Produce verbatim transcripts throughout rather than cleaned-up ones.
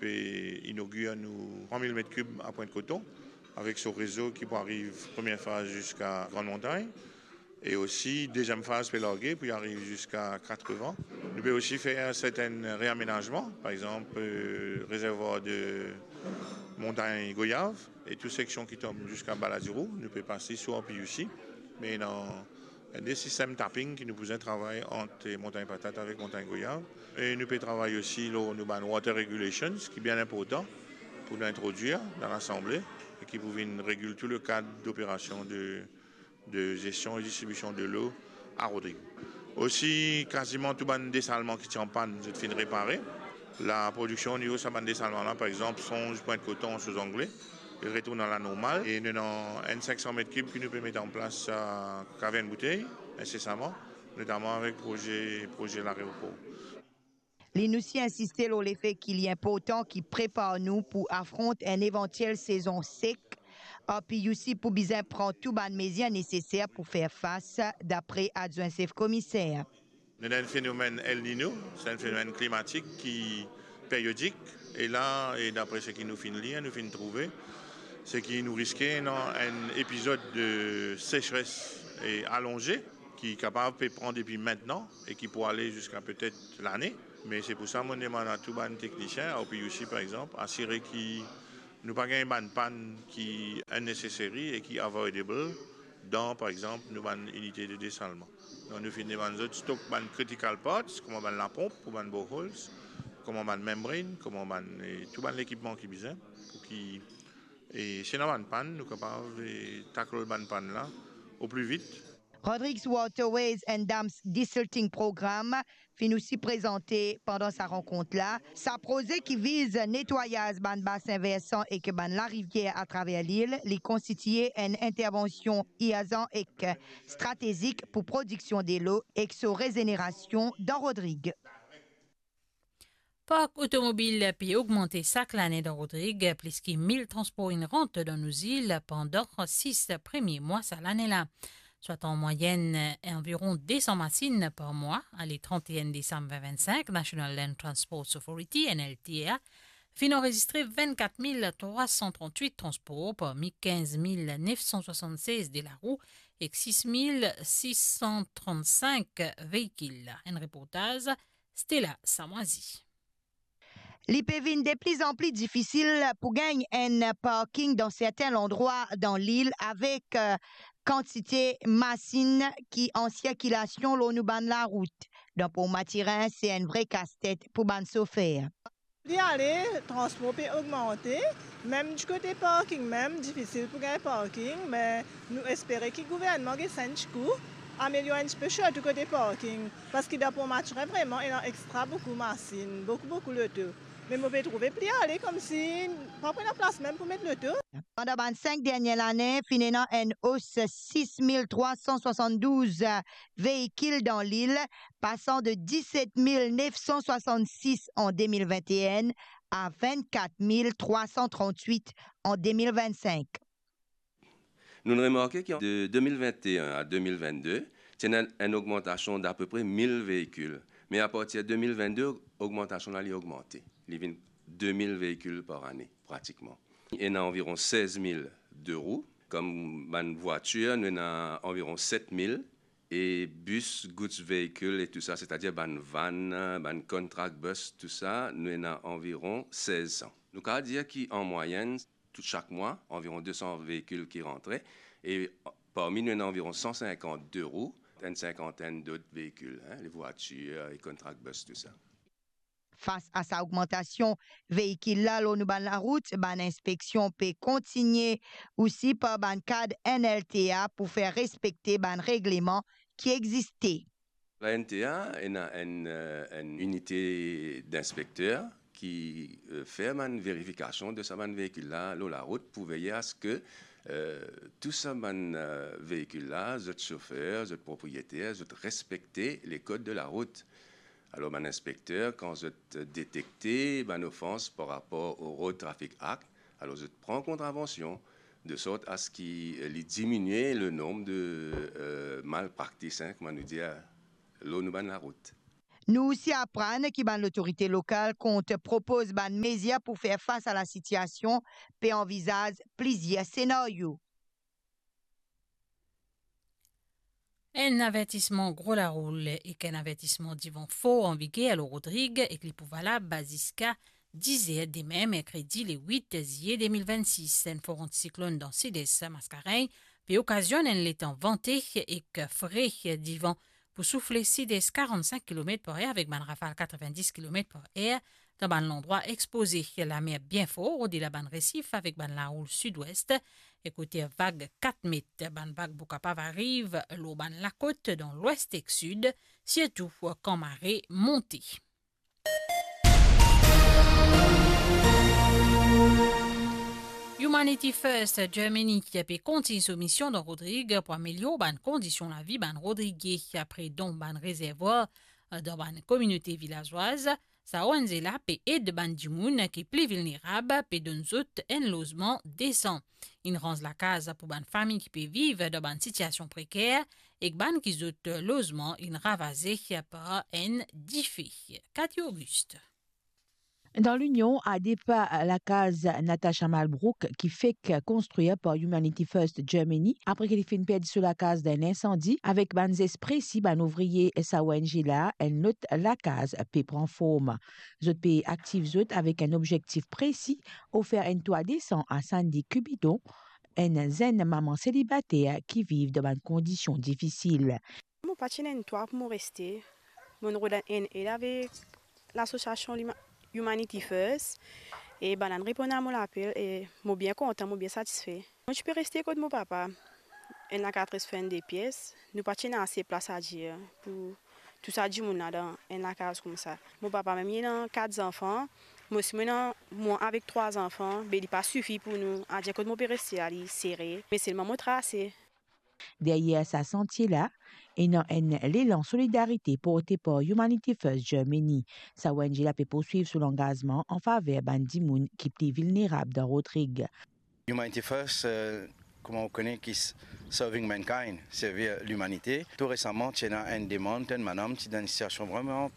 pe inogir nou trwa mil met kib a Pwint Koton, avek so rezo ki pou ariv premie faz ziska Grann Montagn, e osi deziem faz pe large pou ariv ziska Katrevan. Nou pe osi fer sertenn reamenazman, par exanp, eh, rezervwar de Montagn Goyav e tou seksion ki tom ziska Baladiro, nou pe pase sou R P U C, me ena enn de sistem tapping ki nou pou bizin travay ant Montagn Patat avek Montagn Goyav. E nou pe travay osi lor nou bann water regulations, ki bien inportan pou nou introdwir dan Lasanble e ki pou vinn regil tou le kad doperasion de, de zestion e distribision delo a Rodrig. Osi, kaziman tou bann desalman ki ti an pann, zot finn repare. Laprodiksion onivo sa bann desalman la, par exanp, Songe, Pwint Koton, Souzangle, li retourn a lanormal. E nou ena enn sink san met kib ki nou pe met an plas, eh, kavern boutey, insesaman, notaman avek proze, proze laeropor. Li osi insiste lor lefe ki li inportan ki prepar nou pou afront enn evantiel sezon sek. R P U C pou bizin pran tou bann mezir neseser pou fer fas, dapre adwin sef komiser. Nou ena enn fenomenn El Niño, se enn fenomenn klimatik ki periodik, e la, e dapre seki nou finn lir, nou finn trouve, seki nou riske ena enn epizod de sesres e alonze, ki kapav pe pran depi mintnan e ki pou ale ziska petet lane. Me se pou sa mo demann a tou bann teknisien, a R P U C par exanp, asire ki nou pa gagn bann pann ki unnecessary e ki avoidable dan, par exanp, nou bann inite de desalman. Donk, nou finn demann zot stok bann critical parts, kouma bann laponp pou bann boreholes, kouma bann membrane, kouma bann, e tou bann lekipman ki bizin, pou ki, e si ena bann pann, nou kapav, e, tackle bann pann la o pli vit. Rodrigues Waterways and Dams Desilting Program finn osi prezante pandan sa rankont la. Sa proze ki viz netwayaz bann basin versan ek bann larivier atraver lil, li konstitie enn intervansion irzan ek stratezik pou prodiksion delo ek so rezenerasion dan Rodrig. Park otomobil pe ogmante sak lane dan Rodrig, plis ki mil transpor inn rant dan nou zil pandan sis premie mwa sa lane la. Swat an mwayenn, anviron de san masinn par mwa. Ale trant e enn desam vin vinn sink, National Land Transport Authority, N L T A, finn anrezistre vinn-kat mil trwa san trant-wit transpor, parmi kinz mil nef san swasann-sez de larou ek sis mil sis san trant-sink veikil. Enn reportaz Stella Samwazi. Li pe vinn de pli an pli difisil pou gagn enn parking dan sertin landrwa dan lil, avek, eh, kantite masinn ki an sirkilasion lor nou bann larout. Dan Port Mathurin, se enn vre kastet pou bann sofer. Pli ale, transpor pe ogmante, mem dikote parking mem, difisil pou gagn parking, me nou espere ki gouvernman gagn sa enn tikou, amelior enn tipe, sirtou kote parking, parski dan Port Mathurin vreman ena extra boukou masinn, boukou, boukou loto. Me mo pe trouve pli ale koumsi pa pou ena plas mem pou met loto. Pandan bann sink dernie lane, finn ena enn os sis mil trwa san swasann-douz veikil dan lil, pasan de diset mil nef san swasann-sis an de mil vinn-e-enn a vinn-kat mil trwa san trant-wit an de mil vinn-sink. Nou'nn remarke ki de de mil vinn-e-enn a de mil vinn-de, ti ena enn ogmantasion dapepre mil veikil. Me apartir de mil vinn-de, ogmantasion la, li ogmante. Li vinn de mil veikil par ane, pratikman. Ena anviron sez mil de rou. Kom bann vwatir, nou ena anviron set mil. E bis, goods vehicle e tousa, setadir bann van, bann contract bus, tousa, nou ena anviron sez san. Nou kapav dir ki, an mwayenn, tou sak mwa, anviron de san veikil ki rantre, e parmi nou, ena anviron san sinkant de rou, enn sinkantenn dot veikil, en, le vwatir e contract bus, tousa. Fas a sa ogmantasion veikil la lor nou bann larout, bann inspeksion pe kontigne osi par bann kad N L T A pou fer respekte bann regleman ki existe. La N T A ena enn, eh, enn inite dinspekter ki, eh, fer bann verifikasion de sa bann veikil la lor larout pou veye a se ke, eh, tou sa bann, eh, veikil la, zot sofer, zot propriyeter, zot respekte le kod de larout. Alor, bann inspekter, kan zot detekte bann ofans par rapor o Road Traffic Act, alor zot pran kontravansion, de sort a se ki, eh, li diminie le nonb de, eh, malpraktis, en, kouma nou dir, lor nou bann larout. Nou osi aprann ki bann lotorite lokal kont propoz bann mezir pou fer fas a lasitiasion, pe anvizaz plizier senario. Enn avertisman gro laroul ek enn avertisman divan for anviger lor Rodrig ek li pou valab ziska diz er demin, merkredi le wit ziye de mil vennsis. Enn for antisiklonn dan sides Mascarenhs pe okazionn enn letan vante ek fre, divan pou soufle sides karant-sink kilomet par er avek bann rafal katrevenndis kilomet par er. Dan bann landrwa expoze, lamer bien for, odela bann resif avek bann laroul sidwes, e kote vag kat met. Bann vag pou kapav ariv lor bann lakot dan lwes ek sid, sirtou kan mare monte. Humanity First Germany pe kontign so mision dan Rodrig pou amelior bann kondision lavi bann Rodrige apre don bann rezervwar dan bann kominote vilazwaz. Sa ONG la pe ed bann dimoun ki pli vilnerab, pe donn zot enn lozman desan. Inn ranz lakaz pou bann fami ki pe viv dan bann sitiasion preker, ek bann ki zot lozman inn ravaze par enn dife. Cathy Auguste. Dan Linion, a de pa lakaz Natasha Malbrook ki fek konstrir par Humanity First Germany, apre ki li finn perdi so lakaz dan enn insandi, avek bann zes presi bann ouvrie sa ONG la, enn lot lakaz pe pran form. Zot pe aktiv zot avek enn obzektif presi, ofer enn twa desan a Sandy Cupido, enn zenn mama selibater ki viv dan bann kondision difisil. Mo pa ti ena enn twa pou mo reste. Mo'nn rod enn ed avek lasosiasion Lima-, Humanity First, e bannla reponn a mo lapel, e mo bien kontan, mo bien satisfe. Mo ti pe reste kot mo papa, enn lakaz enn de pies. Nou pa ti ena ase plas adir pou tou sa dimoun la dan enn lakaz koumsa. Mo papa mem li ena kat zanfan, mo osi mo ena, mo avek trwa zanfan, be li pa sifi pou nou. Adir kot mo pe reste la, li sere, me selman mo trase. Deryer sa santie la, ena enn lelan solidarite porte par Humanity First Germany. Sa ONG la pe pourswiv so langazman an faver bann dimoun ki pli vilnerab dan Rodrig. Humanity First, eh, kouma ou kone ki s-, serving mankind, servi limanite. Tou resaman, ti ena enn demann, enn madam ti dan enn sitiasion vreman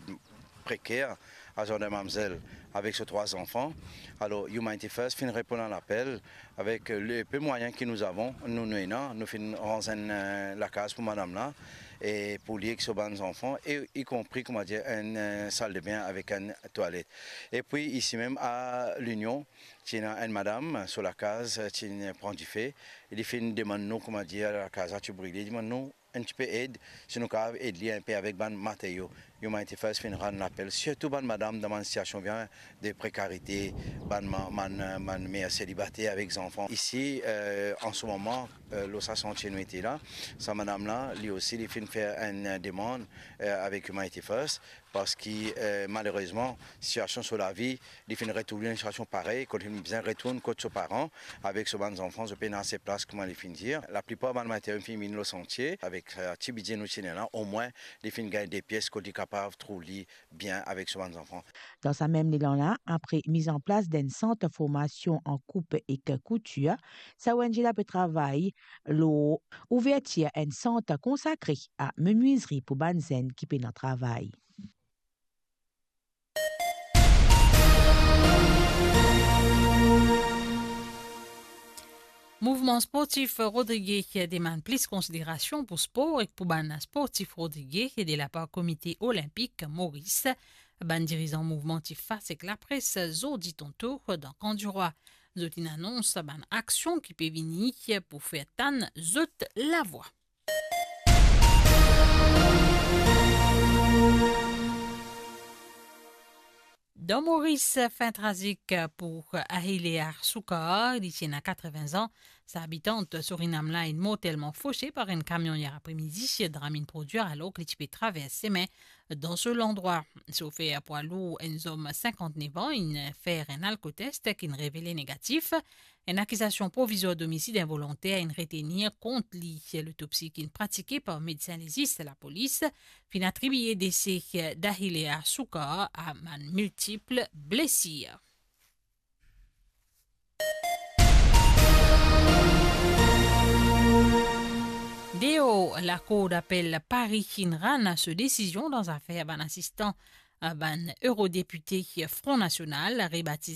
preker, a zot de mamzel avek so trwa zanfan. Alor, Humanity First finn reponn a lapel avek le peu mwayin ki nou avon, nou, nou ena, nou finn ranz enn, eh, lakaz pou madam la, e pou li ek so bann zanfan, e ikonpri, kouma dir, enn, eh, saldebin avek enn twalet. Epi isi mem a Linion, ti ena enn madam, so lakaz, eh, ti pran dife, e li finn demann nou, kouma dir, lakaz la ti brile, li demann nou enn tipe ed, si nou kapav ed li enpe avek bann materio. Humanity First finn rann lapel, sirtou bann madam dan bann sitiasion bien de prekarite, bann ma-, bann, bann mer selibater avek zanfan. Isi, eh, an se moman, eh, lor sa santie nou ete la, sa madam la, li osi, li finn fer enn, eh, demann, eh, avek Humanity First, parski, eh, malerezman, sitiasion so lavi, li finn retrouv li dan enn sitiasion parey, kot li finn bizin retourn kot so paran, avek so bann zanfan, zot pena ase plas, kouma li finn dir. Laplipar bann materio finn vini lor santie, avek, eh, ti bidze nou ti ena la, omwin li finn gagn de pies kot li kapav trouv li bien avek so bann zanfan. Dan sa mem lelan la, apre mizanplas d'enn sant formasion an koup ek koutir, sa ONG la pe travay lor ouvertir enn sant konsakre a menwizri pou bann zenn ki pena travay. Mouvman sportif Rodrige demann plis konsiderasion pou spor ek pou bann sportif Rodrige de lapar Komite Olinpik Moris. Bann dirizan mouvman ti fas ek lapres zordi tanto dan Kan Dirwa. Zot inn anons bann aksion ki pe vini pou fer tann zot lavwa. Dan Moris, fin trazik pou Ahilea Soukar, li ti ena katreven an. Sa abitant Surinam la inn mortelman fose par enn kamion yer apremidi. Dram inn prodwir alor ki li ti pe travers sime dan so landrwa. Sofer pwa lour, enn zom sinkant-nef an, inn fer enn alkotest ki inn revele negatif. Enn akizasion provizwar domisid involonter inn retenir kont li. Lotopsi ki inn pratike par medsin lezis lapolis finn atribie dese Dahilea Soukar a bann miltip blesir. Deor Lakour Dapel Pari inn rann so desizion dan zafer bann asistan, eh, bann eurodepite Front National, rebatize